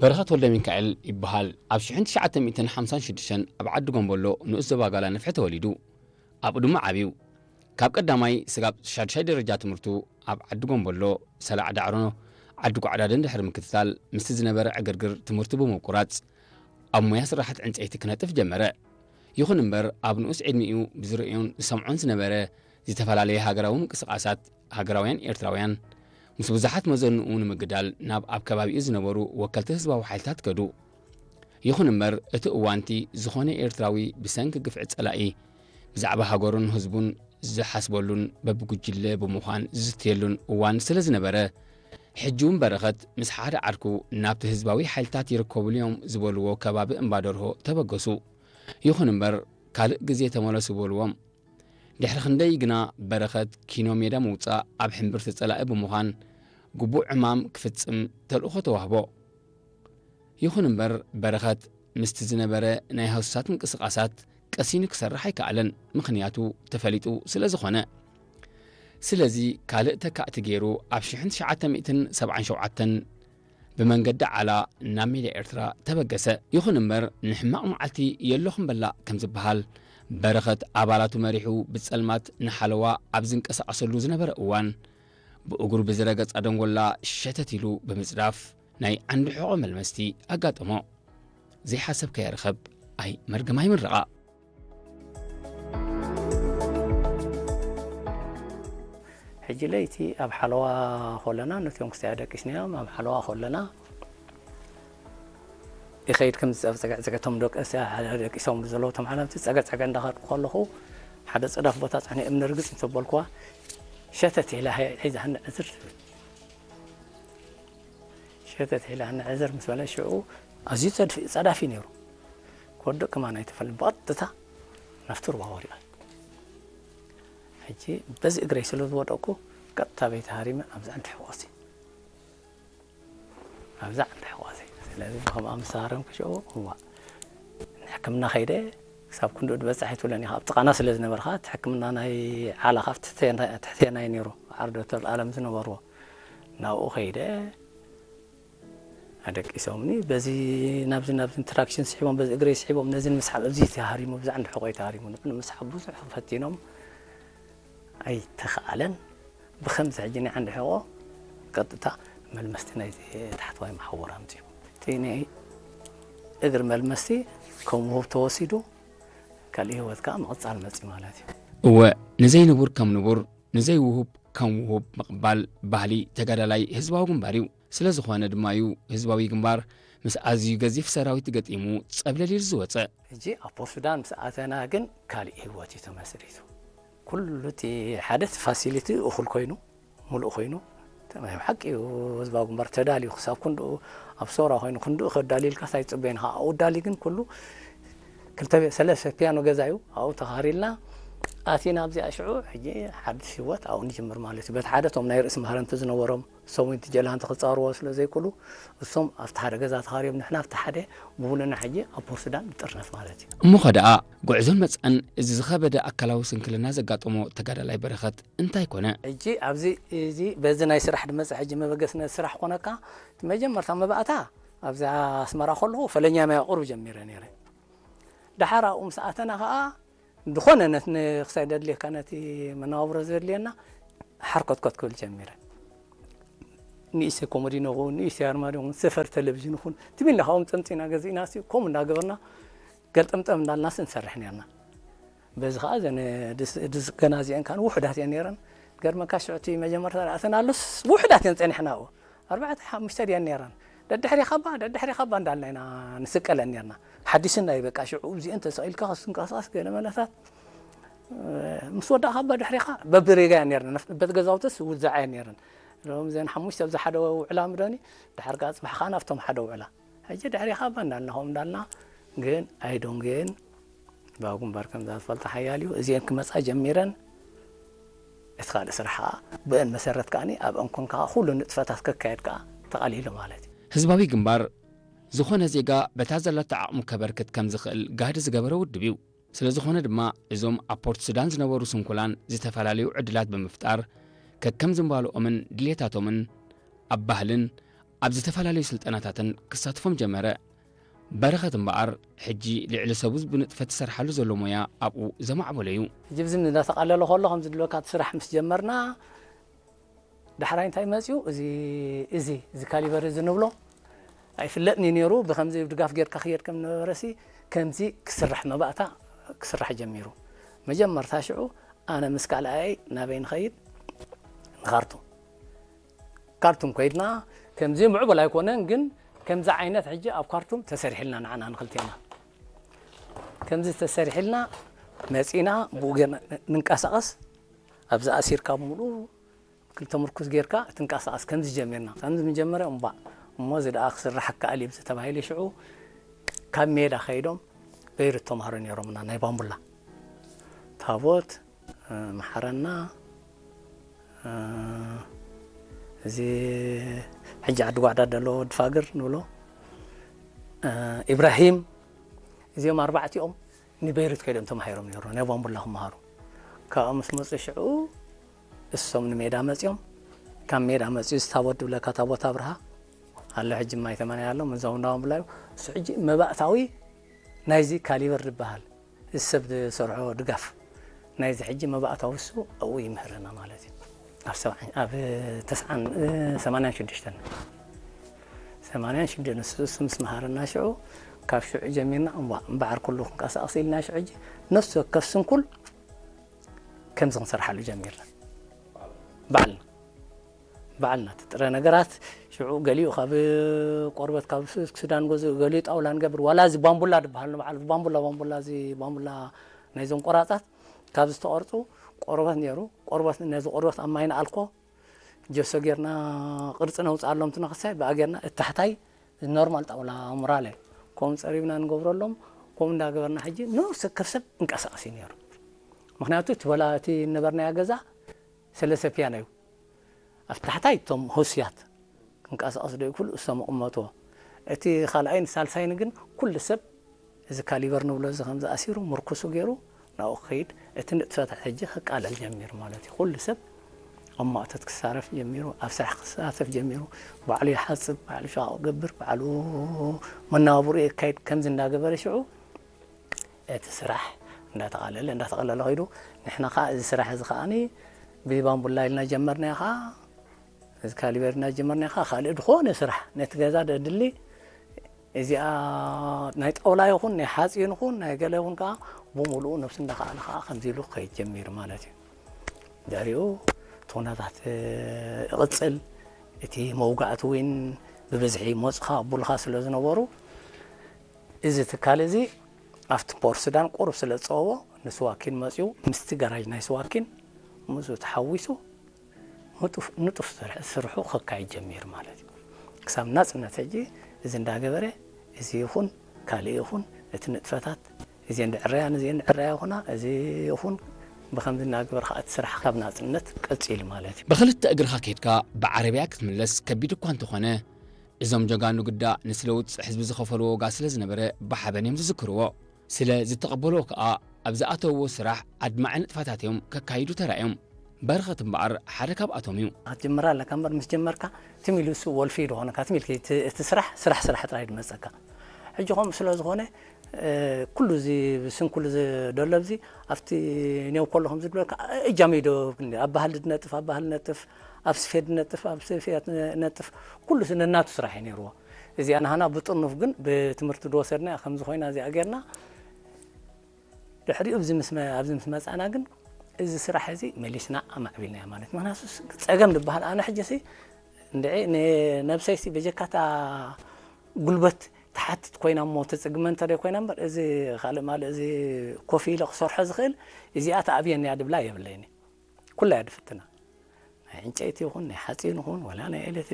በረኸት ወልደሚካኤል ይበሃል። ኣብ ሽሕን ትሽዓተ ሚእትን ሓምሳን ሽዱሽተን ኣብ ዓዲ ጎምቦሎ ንኡስ ዞባ ጋላ ንፍሒ ተወሊዱ። ኣብኡ ድማ ዓብዩ። ካብ ቀዳማይ ስጋብ ሻድሻይ ደረጃ ትምህርቱ ኣብ ዓዲ ጎምቦሎ፣ ሰላዕ ዳዕሮ፣ ዓዲ ጓዕዳድን ድሕሪ ምክትታል፣ ምስቲ ዝነበረ ዕግርግር ትምህርቱ ብምቁራጽ፣ ኣብ ሞያ ስራሓት ዕንጸይቲ ክነጥፍ ጀመረ። ይኹን እምበር፣ ኣብ ንኡስ ዕድሚኡ ብዝርእዮን ዝሰምዖን ዝነበረ ዝተፈላለየ ሃገራዊ ምንቅስቓሳት ሃገራውያን ኤርትራውያን፣ ምስ ብዙሓት መዘንኡ ንምግዳል ናብ ኣብ ከባቢኡ ዝነበሩ ወከልቲ ህዝባዊ ሓይልታት ከዱ። ይኹን እምበር፣ እቲ እዋንቲ ዝኾነ ኤርትራዊ ብሰንኪ ግፍዒ ጸላኢ ብዛዕባ ሃገሩን ህዝቡን ዝሓስበሉን በብጉጅለ ብምዃን ዝዝትየሉን እዋን ስለ ዝነበረ፣ ሕጂ እውን በረኸት ምስ ሓደ ዓርኩ ናብቲ ህዝባዊ ሓይልታት ይርከቡሉ እዮም ዝበልዎ ከባቢ እምባደርሆ ተበገሱ። ይኹን እምበር፣ ካልእ ግዜ ተመለሱ በልዎም። ድሕሪ ክንደይ ግና በረኸት ኪኖ ሜዳ ምውጻእ ኣብ ሕምብርቲ ጸላኢ ብምዃን ግቡእ ዕማም ክፍጽም ተልእኾ ተዋህቦ። ይኹን እምበር በረኸት ምስቲ ዝነበረ ናይ ሃሱሳት ምንቅስቓሳት ቀሲኑ ክሰርሕ ኣይከኣለን፣ ምኽንያቱ ተፈሊጡ ስለ ዝኾነ። ስለዚ ካልእ ተካእቲ ገይሩ ኣብ ሽሕን ትሽዓተ ሚእትን ሰብዓን ሸውዓተን ብመንገዲ ዓላ ናብ ሜዳ ኤርትራ ተበገሰ። ይኹን እምበር ንሕማቕ መዓልቲ የሎኹም በላእ ከም ዝበሃል በረኸት ኣባላቱ መሪሑ ብጸልማት ንሓለዋ ኣብ ዝንቀሳቐሰሉ ዝነበረ እዋን ብእግሩ ብዝረገጻ ደንጎላ ሸተት ኢሉ ብምጽዳፍ ናይ ዓንዲ ሕቖ መልመስቲ ኣጋጠሞ። ዘይሓሰብካዮ ርኸብ ኣይ መርገም ኣይምረቓ። ሕጂ ለይቲ ኣብ ሓለዋ ኮለና ነቶም ክስታይ ኣደቂስናዮም ኣብ ሓለዋ ኮለና ይኸይድ ከም ዝጸብጸገ ጸገቶም ደቀስ ደቂሶም ብዘለዉ ተማሓላምቲ ጸገጸገ እንዳኸድኩ ከለኹ ሓደ ጽዳፍ ቦታ ጽሕነ እምኒ ርግጽ እንተበልኩዋ ሸተት ኢላ ሒዛኒ ዕዝር ትብል። ሸተት ኢላ ንዕዝር ምስ በለ ሽዑ ኣዝዩ ጸዳፊ ነይሩ። ክወድቕ ከማን ኣይተፈልኒ ብቐጥታ ናብቲ ሩባ ወዲቐ። ሕጂ በዚ እግረይ ስለ ዝወደቕኩ ቀጥታ ቤት ሃሪመ ኣብዛ ዓንዲ ሕቆሲ ኣብዛ ዓንዲ ሕቆሲ ስለዚ ብከምኣ ምስ ሃረምኩ ሽዑ እዋ ንሕክምና ከይደ ክሳብ ክንድኡ ድበጽሕ ኣይትብለን ኢኻ ኣብ ጥቓና ስለ ዝነበርካ እቲ ሕክምና ናይ ዓላ ካብ ትሕቴና እዩ ነይሩ ዓርዶ ተልኣለም ዝነበርዎ ናብኡ ከይደ ኣደቂሶምኒ በዚ ናብዚ ናብዚ ትራክሽን ስሒቦም በዚ እግረይ ስሒቦም ነዚ ንምስሓብ ኣብዚ ተሃሪሙ ብዛ ዓንዲ ሕቆይ ተሃሪሙ ንምስሓብ ብዙሕ ፈቲኖም ኣይተኸኣለን ብኸምዚ ሕጂ ናይ ዓንዲ ሕቆ ቀጥታ መልመስቲ ናይ ታሕተዋይ መሓውር ኣምፅኡ እቲ ናይ እግር መልመስቲ ከም ውሁብ ተወሲዱ ካልእ ህይወት ከዓ ምቕፃል መፂ ማለት እዩ እወ ንዘይንቡር ከም ንቡር ንዘይውሁብ ከም ውሁብ ምቕባል ባህሊ ተጋዳላይ ህዝባዊ ግንባር እዩ። ስለ ዝኾነ ድማ እዩ ህዝባዊ ግንባር ምስ ኣዝዩ ገዚፍ ሰራዊት ገጢሙ ጸብለል ኢሉ ዝወጸ። ሕጂ ኣብ ፖርት ሱዳን ምስ ኣተና ግን ካልእ ህይወት እዩ ተመስሪቱ። ኩሉ እቲ ሓደ እቲ ፋሲሊቲ እኹል ኮይኑ ሙሉእ ኮይኑ ናይ ብሓቂ እዩ ህዝባዊ ግንባር ተዳልዩ ክሳብ ክንድኡ ኣብ ሶራ ኮይኑ ክንድኡ ከዳልዩ ኢልካስ ኣይትጽበዮን ኢኻ ኣብኡ ዳልዩ ግን ኩሉ ክልተ ቤት ሰለስተ ፒያኖ ገዛ እዩ ኣብኡ ተኻሪልና ኣቲና ኣብዚኣ ሽዑ ሕጂ ሓድሽ ህይወት ኣብኡ ንጅምር ማለት እዩ በቲ ሓደ እቶም ናይ ርእሲ ማህረምቲ ዝነበሮም ሰዊንቲ ጀላንቲ ክጻርዎ ስለ ዘይክእሉ እሶም ኣብቲ ሓደ ገዛ ተኻርዮም ንሕና ኣብቲ ሓደ ብውሉና ሕጂ ኣብ ፖርት ሱዳን ንጥርነፍ ማለት እዩ። እሞ ኸደኣ ጉዕዞን መጻእን እዚ ዝኸበደ ኣካላዊ ስንክልና ዘጋጠሞ ተጋዳላይ በረኸት እንታይ ኮነ? ሕጂ ኣብዚ እዚ በዚ ናይ ስራሕ ድመጽእ ሕጂ መበገሲ ነዚ ስራሕ ኮነካ እቲ መጀመርታ መባእታ ኣብዛ ኣስመራ ከለኹ ፈለኛ ማይ ቁሩብ ጀሚረ ነይረ። ደሓር ኣብኡ ምስ ኣተና ከኣ ዝኾነ ነት ንክሳይ ደድልየካ ነቲ መነባብሮ ዘድልየና ሓርኮትኮት ክብል ጀሚረ። ንእሽተይ ኮሞዲኖ ይኹን ንእሽተይ ኣርማድዮ ይኹን ሰፈር ቴሌቪዥን ይኹን ትቢልና ካብኦም ጸምጺና ገዚእና ሲ ከምኡ እንዳገበርና ገልጠምጠም እንዳልናስ ንሰርሕ ነርና። በዚ ከዓ እዘን ድስገና እዚአን ከዓ ውሑዳት እየን ነይረን። ገርመካ ሽዑ እቲ መጀመርታ ዝኣተናሉስ ውሑዳት እየን ፀኒሕና ኣብኡ ኣርባዕተ ሓሙሽተ ድየን ነይረን። ደድሕሪኻ እባ ደድሕሪኻ እባ እንዳልና ኢና ንስቀለን ነርና። ሓዲስና እዩ በቃ ሽዑ እዚአን ተሰቒልካ ክትንቀሳቐስ ገለ መለታት ምስ ወዳእኻ እባ ድሕሪኻ በብሬጋ እየን ነርና። በቲ ገዛውትስ ውዛዓ እየን ነይረን። እዞም እዘን ሓሙሽተ ኣብዚ ሓደ ውዕላ ምደኒ ድሓር ከዓ ፅባሕ ከዓ ናብቶም ሓደ ውዕላ ሕጂ ድሕሪኻ እባ እንዳልና ከምኡ እንዳልና ግን ኣይዶንጌን ባብ ግንባር ከምዛ ዝፈልጦ ሓያል እዩ እዚአን ክመፃ ጀሚረን እቲ ካልእ ስራሕ ከዓ ብአን መሰረት ከዓ ኣብአን ኮንካ ኩሉ ንጥፈታት ክካየድ ከዓ ተቐሊሉ ማለት እዩ። ህዝባዊ ግንባር ዝኾነ ዜጋ በታ ዘለቶ ዓቕሙ ከበርክት ከም ዝኽእል ጋህዲ ዝገበረ ውድብ እዩ። ስለ ዝኾነ ድማ እዞም ኣብ ፖርት ሱዳን ዝነበሩ ስንኩላን ዝተፈላለዩ ዕድላት ብምፍጣር ከከም ዝንባልኦምን ድሌታቶምን ኣብ ባህልን ኣብ ዝተፈላለዩ ስልጠናታትን ክሳትፎም ጀመረ። በረኸት እምበኣር፣ ሕጂ ልዕሊ ሰቡ ብንጥፈት ዝሰርሓሉ ዘሎ ሞያ ኣብኡ ዘማዕበሎ እዩ። ሕጂ ብዚ እንዳተቓለለ ከሎ ከምዚ ድለካ እቲ ስራሕ ምስ ጀመርና፣ ዳሕራይ እንታይ መጽዩ? እዚ፣ እዚ፣ እዚ ካሊበር እዚ ንብሎ ኣይፍለጥን እዩ ነይሩ። ብከምዚ ድጋፍ ጌርካ ክየድ ከም ነበረሲ፣ ከምዚ ክስራሕ መባእታ ክስራሕ ጀሚሩ። መጀመርታ ሽዑ ኣነ ምስ ካልኣይ ናበይ ንኸይድ? ንኻርቱም። ካርቱም ኮይድና፣ ከምዚ ምዕቡል ኣይኮነን፣ ግን ከምዚ ዓይነት ሕጂ ኣብ ካርቱም ተሰሪሕልና ንዓና ንክልቴና። ከምዚ ተሰሪሕልና መጺና፣ ብኡ ጌርና ንንቀሳቐስ። ኣብዚ ኣሲርካ ብምሉኡ ክልተ ምርኩስ ጌርካ ትንቀሳቐስ። ከምዚ ጀሚርና። ከምዚ ምጀመረ እምባእ፣ እሞ እዚ ደኣ ክስራሕ ከኣል እዩ ተባሂሉ ሽዑ ካብ ሜዳ ከይዶም በይሩት ተምሃሮ ነይሮምና፣ ናይ ባምቡላ። ታቦት፣ እ፣ መሓረና፣ እ፣ እዚ ሕጂ ዓዲ ጓዕዳ ዘሎ ወዲ ፋግር ንብሎ፣ እ፣ ኢብራሂም፣ እዚኦም ኣርባዕቲኦም ንበይሩት ከይዶም ተማሂሮም ነይሩ፣ ናይ ባምቡላ ክመሃሩ። ካብኡ ምስ መጹ ሽዑ እሶም ንሜዳ መጺኦም፣ ካብ ሜዳ መጺኡ እዚ ታቦት ድብለካ ታቦት ኣብርሃ ኣሎ፣ ሕጂ ማይ ተመንያ ኣሎ፣ መዛው እንዳ ባምቡላ እዩ። እሱ ሕጂ መባእታዊ ናይዚ ካሊበር ዝበሃል እዚ ሰብ ዝሰርሖ ድጋፍ ናይዚ ሕጂ መባእታዊ እሱ ኣብኡ ይምህረና ማለት እዩ። ኣብ ሰብዓን፣ ኣብ ተስዓን፣ እ፣ ሰማንያን ሽዱሽተን፣ ሰማንያን ሽዱሽተን እሱ፣ እሱ ምስ መሃረና ሽዑ፣ ካብ ሽዑ ጀሚርና እምባ-፣ እምበዓር ኩሉ ክንቀሳቐስ ኢልና ሽዑ ሕጂ ነፍሲ ወከፍ ስንኩል ከምዚ ክንሰርሓሉ ጀሚርና። ባዕልና፣ ባዕልና እቲ ጥረ ነገራት ሽዑ ገሊኡ ካብ ቆርበት ካብ ሱ-፣ ሱዳን ገዝኡ፣ ገሊኡ ጣውላ ንገብር። ዋላ እዚ ባምቡላ ዝበሃል ንባዕሉ ባምቡላ፣ ባምቡላ፣ እዚ ባምቡላ ናይዞም ቆራጻት ካብ ዝተቐርጹ ቆርበት ነይሩ። ቆርበት፣ ነዚ ቆርበት ኣብ ማይ ንኣልኮ፣ ጀሶ ጌርና ቅርጺ ነውጽኣሎም፣ ትነኽሳይ ብኣ ጌርና እቲ ታሕታይ ኖርማል ጣውላ ሙራለ፣ ከምኡ ጸሪብና ንገብረሎም። ከምኡ እንዳገበርና ሕጂ ነፍሲ ወከፍ ሰብ እንቀሳቐስ እዩ ነይሩ። ምኽንያቱ እቲ በላ፣ እቲ ነበርናዮ ገዛ ሰለስተ ፒያኖ እዩ። ኣብ ታሕታይ እቶም ሆስያት ክንቀሳቐሱ ዶ ይክእሉ፣ እሶም ይቕመጥዎ። እቲ ካልኣይን ሳልሳይን ግን ኩሉ ሰብ እዚ ካሊበር ንብሎ እዚ ከምዚ ኣሲሩ ምርኩሱ ገይሩ ናብኡ ክኸይድ፣ እቲ ንጥፈታት ሕጂ ክቃለል ጀሚሩ ማለት እዩ። ኩሉ ሰብ ኣብ ማእቶት ክሳረፍ ጀሚሩ፣ ኣብ ስራሕ ክሳተፍ ጀሚሩ። ባዕሉ ይሓጽብ፣ ባዕሉ ሸቓቕ ይገብር፣ ባዕሉ መነባብርኡ የካይድ። ከምዚ እንዳገበረ ሽዑ እቲ ስራሕ እንዳተቓለለ፣ እንዳተቓለለ ከይዱ። ንሕና ከኣ እዚ ስራሕ እዚ ከኣኒ ብባምቡላ ኢልና ጀመርናዮ ከኣ፣ እዚ ካሊበር ኢልና ጀመርናዮ ከኣ፣ ካልእ ዝኾነ ስራሕ ነቲ ገዛ ደድሊ፣ እዚኣ ናይ ጣውላ ይኹን ናይ ሓጺን ይኹን ናይ ገለ ይኹን ከኣ ብምሉኡ ነብሱ እንዳኸኣለ ከኣ ከምዚ ኢሉ ክኸይድ ጀሚሩ ማለት እዩ። ድሕሪኡ እቲ ኩነታት ይቕጽል። እቲ መውጋእቲ እውን ብብዝሒ ይመጹኻ፣ ኣቡልኻ ስለ ዝነበሩ፣ እዚ ትካል እዚ ኣብቲ ፖርት ሱዳን ቁሩብ ስለ ዝጸበቦ፣ ንስዋኪን መጺኡ፣ ምስቲ ጋራጅ ናይ ስዋኪን ምስኡ ተሓዊሱ፣ ንጡፍ፣ ንጡፍ ስርሕ-፣ ስርሑ ከካይድ ጀሚሩ ማለት እዩ። ክሳብ ናጽነት ሕጂ እዚ እንዳገበረ፣ እዚ ይኹን ካልእ ይኹን፣ እቲ ንጥፈታት፣ እዚ እንድዕረያ፣ እዚ እንድዕረያ ይኹና፣ እዚ ይኹን፣ ብኸምዚ እናገበረ ከዓ እቲ ስራሕ ካብ ናጽነት ቀጺሉ ማለት እዩ። ብኽልተ እግርኻ ከይድካ ብዓረብያ ክትምለስ ከቢድ እኳ እንተኾነ፣ እዞም ጀጋኑ ግዳ ንስለ ውጽዕ ህዝቢ ዝኸፈልዎ ዋጋ ስለ ዝነበረ ብሓበን እዮም ዝዝክርዎ። ስለ ዝተቐበልዎ ከኣ ኣብ ዝኣተውዎ ስራሕ ኣድማዒ ንጥፈታት እዮም ከካይዱ ተራእዮም። በረኸት እምበኣር ሓደ ካብኣቶም እዩ። ክትጅምር ኣለካ እምበር ምስ ጀመርካ ትም ኢሉ እሱ ወልፊ ዶ ኾነካ፣ ትም ኢልኪ እቲ፣ እቲ ስራሕ፣ ስራሕ፣ ስራሕ ጥራይ ድመጸካ። ሕጂ ከምኡ ስለ ዝኾነ፣ እ፣ ኩሉ እዚ ስንኩል እዚ ደሎ ኣብዚ ኣብቲ ኔው ከሎ ከም ዝብለካ እጃም እዩ ዶ፣ ኣብ ባህሊ ድነጥፍ፣ ኣብ ባህሊ ነጥፍ፣ ኣብ ስፌት ድነጥፍ፣ ኣብ ስፌት ነጥፍ፣ ኩሉ እዚ ነናቱ ስራሕ እዩ ነይርዎ። እዚኣ ናህና ብጥርኑፍ ግን ብትምህርቲ ዝወሰድና ከምዚ ኮይና እዚኣ ጌርና ድሕሪኡ ኣብዚ ምስ መ-፣ ኣብዚ ምስ መጻና ግን እዚ ስራሕ እዚ መሊስና ኣማዕቢልናዮ ማለት እዩ። ምኽንያቱ ስ-፣ ጸገም ዝበሃል ኣነ ሕጂ ሲ እንድዒ ንነብሰይ ሲ በጀካታ ጉልበት ትሓትት ኮይና እሞ ትጽግመ እንተ ደይ ኮይና እምበር፣ እዚ ካልእ ማልእ እዚ ኮፍ ኢለ ክሰርሖ ዝኽእል እዚኣ ትኣብየኒ እያ ድብላ የብለይን። ኩላ እያ ድፍትና። ናይ ዕንጨይቲ ይኹን ናይ ሓጺን ይኹን ወላ ናይ ኤሌክትሪክ